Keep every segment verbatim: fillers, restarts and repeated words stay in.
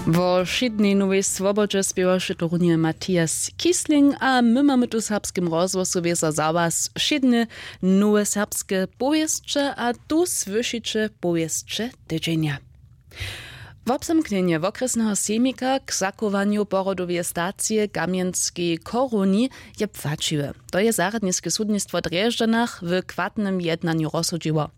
Wo wšědnej nowej swobodźe spěwaše to runje Matthias Kiesling a my mamy tu w Serbskim rozhłosu wězo za was wšědne nowe serbske powěsće a tu słyšiće powěsće tydźenja. Wobzamknjenje wokrjesneho sejmika k zachowanju porodoweje stacije w kamjenskej choruni je płaćiwe. To je zarjadniske sudnistwo w drježdźanach w chwatnym jednanju rozsudźiło.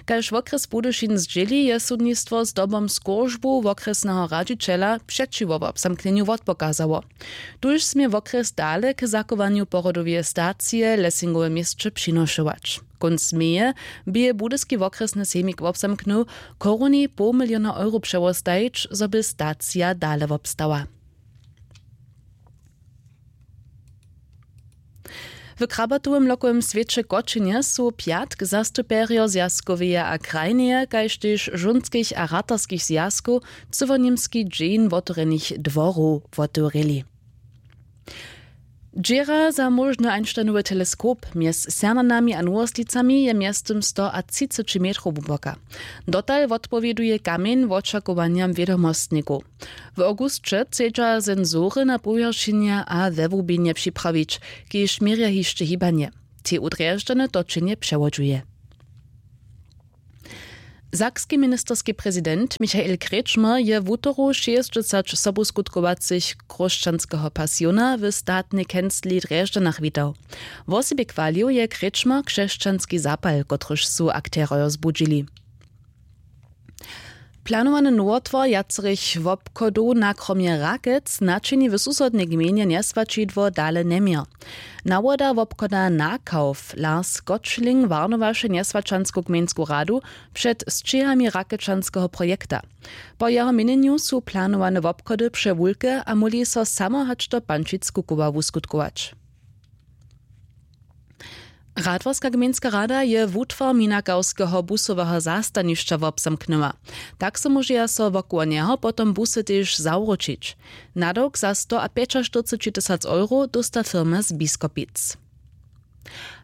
Kaž wokrjes budyšin zdźěli je sudnistwo zdobom skóržbu wokrjesneho radźićela přećiwo wobzamknjenju wotpokazało. Tuž smě wokrjes dale k zachowanju porodoweje stacije w lesingowe měsće přinošować. Kónc meje bě budyski wokrjesny sejmik wobzamknył, choruni poł miliona euro přewostajić zo by stacija dale wobstała. W krabatowym lokowym swěće w kočenje su pjatk zastupjerjo zwjazkoweje a krajneje kaž tež žónskich a ratarskich zwjazkow cyłoněmski dźeń wotewrjenych dworow wotewrěli. Dźěra za móžny einsteinowy teleskop mjez sernanami a nowosticami je mjeztym sto a třiceći metrow hłuboka. Dotal wotpowěduje kamjeń wočakowanjam wědomostnikow. W awgusće chcedźa sensory na powjeršenje a we hłubinje připrawić, kiž měrja hišće hibanje. Tej u drježdźany točenje přewodźuje. Sakski ministerski prezident Michael Kretschmer je wutoru šěsćdźesać sobuskutkowacych chróšćanskeho pasiona w statnej kencli w drježdźanach witał. Wosebje chwalił je Kretschmer křesćanski zapal kotryž su akterojo zbudźili. Planowany nowotwar wjacerych wobchodow na kromje rakec načini w susodnej gmejnje njeswaćidło dale njeměr. Nawoda wobchoda nakawf lars gottschling warnowaše njeswaćansku gmejnsku radu před sćěhami rakečanskeho projekta. Po jeho měnjenju su planowane wobchody přewulke a móhli so samo hač do pančic kukowa wuskutkować. Radworska gmejnska rada je wutwar minakawskeho busoweho zastanišća wobzamknyła. Tak so móžeja so wokoło njeho potom busy tež zawróćić. Nadawk za sto a pjećaštyrceći tysac euro dósta firma z biskopic.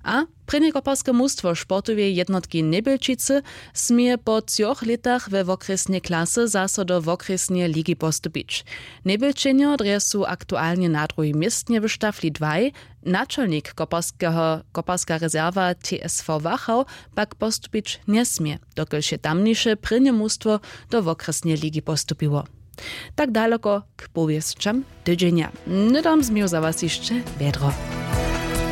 A prěnje koparske mustwo sportoweje jednotki njebjelčicy směje po třoch lětach we wokrjesnej klasy zaso do wokrjesneje ligi postupić. Njebjelčenjo drje su aktualnje na druhim městnje w štafli dwaj. Načalnik koparskeho koparska rezerwa tsv wachau pak postupić njesmě, dokelž je tamniše prěnje mustwo do wokrjesneje ligi postupiło. Tak daloko k powěsćam tydźenja. Hnydom změju za was hišće wjedro.